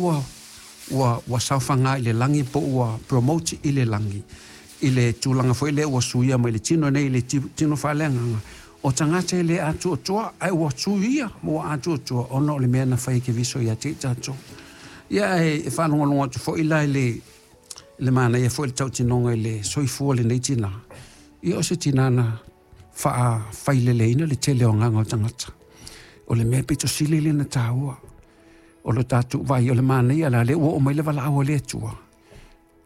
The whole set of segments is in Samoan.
Ua ua ua saofaga i le lagi po ua promote i le lagi i le tulaga foi lea ua suia mai le tino nei i le tino faaleagaga o tagata e le atuatua ae ua suia ma ua atuatua ona o le mea na fai e Keriso ia te i tatou. Ia ae e faalogologo atu foi la i le le manaia foi le tautinoga i le soifua o lenei tina, ia o se tina na faafaileleina le tele o agaga o tagata. O le mea pito sili lea na taua. O lo tatou vaai o le manaia la lea ua oo mai le valaau a le Atua,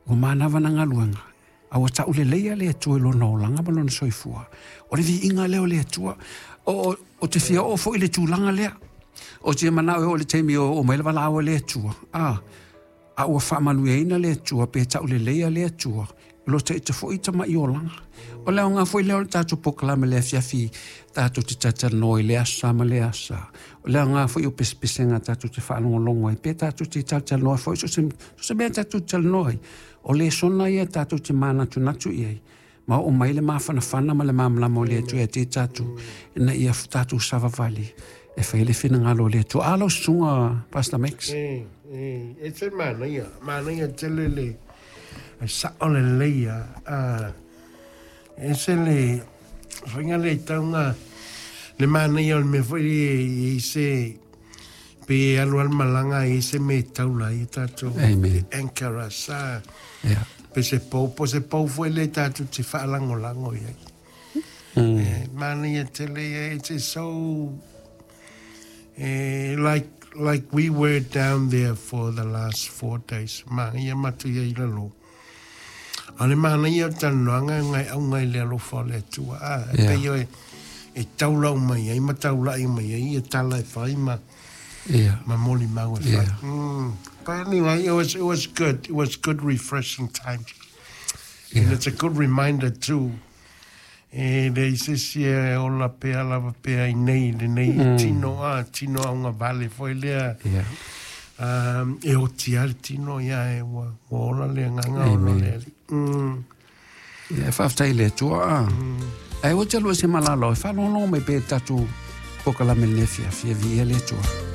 ua manava na galuega, a ua tauleleia le Atua i lona olaga ma lona soifua. O le viiga lea o le Atua. O, o te fia oo foi i le tulaga lea. O te manao e oo i le taimi o oo mai le valaau a le Atua. A, a ua faamanuiaina le Atua pe tauleleia le Atua, lo te ita foi tama'i olaga. O le aoga foi lea o le tatou polokalame le afiafi tatou te talatalanoa i le aso Sa ma le aso Sa. O le aoga foi o pesepesega tatou te faalogologo ai pe tatou te talatalanoa foi so se mea tatou te talanoa ai. O lesona ia tatou te manatunatu i ai ma oo mai le mafanafana ma le malamalama o le Atua ia te tatou ina ia tatou savavali e fai le finagalo o le Atua. A lau susuga Pastor Max. E, e, e se manaia, manaia tele le e sa'o lelei a, a e se le faiga le taunga le manaia o le mea foi e i se pe alu alu malaga e se me taula i tatou Amen. anchor us a Yeah. pe se pou po se pou foi le tatou te faalagolago i ai. E, manaia tele ia, it's just so like we were down there for the last 4 days. Manaia matou ia i lalo. A le manaia o talanoaga e ngai auga i le alofa o le Atua. A, e pei o e taula mai ai ma taulai mai ai ia tala e fai ma ma moli mau e fai. But anyway, it was good. It was good refreshing time. And it's a good reminder too. E le se isi e ola pea lava pea i nei le nei tino a tino au vale foi lea. E oti a le tino ia e ua, ua ola le agaga o lo le ali. Ia, e faafetai le Atua a. Ae ua te lua se malalo e faalogologo mai pe tatou polokalame le afiafi e viia le Atua.